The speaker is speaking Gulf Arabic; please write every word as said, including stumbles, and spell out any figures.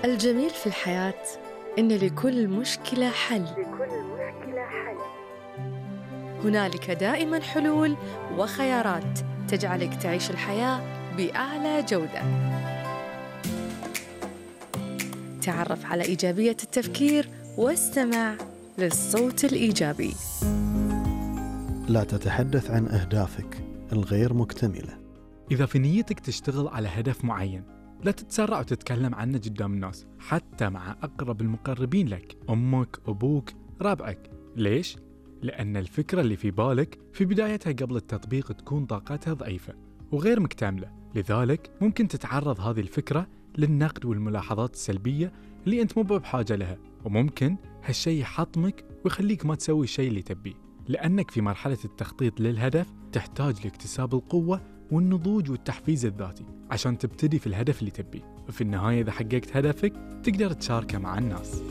الجميل في الحياة إن لكل مشكلة حل. لكل مشكلة حل. هنالك دائماً حلول وخيارات تجعلك تعيش الحياة بأعلى جودة. تعرف على إيجابية التفكير واستمع للصوت الإيجابي. لا تتحدث عن أهدافك الغير مكتملة. إذا في نيتك تشتغل على هدف معين، لا تتسرع وتتكلم عنه قدام الناس، حتى مع أقرب المقربين لك، أمك، أبوك، ربعك. ليش؟ لأن الفكرة اللي في بالك في بدايتها قبل التطبيق تكون طاقتها ضعيفة وغير مكتملة، لذلك ممكن تتعرض هذه الفكرة للنقد والملاحظات السلبية اللي أنت مو بحاجة لها، وممكن هالشي يحطمك ويخليك ما تسوي الشيء اللي تبيه، لأنك في مرحلة التخطيط للهدف تحتاج لاكتساب القوة والنضوج والتحفيز الذاتي عشان تبتدي في الهدف اللي تبيه، وفي النهاية إذا حققت هدفك تقدر تشاركه مع الناس.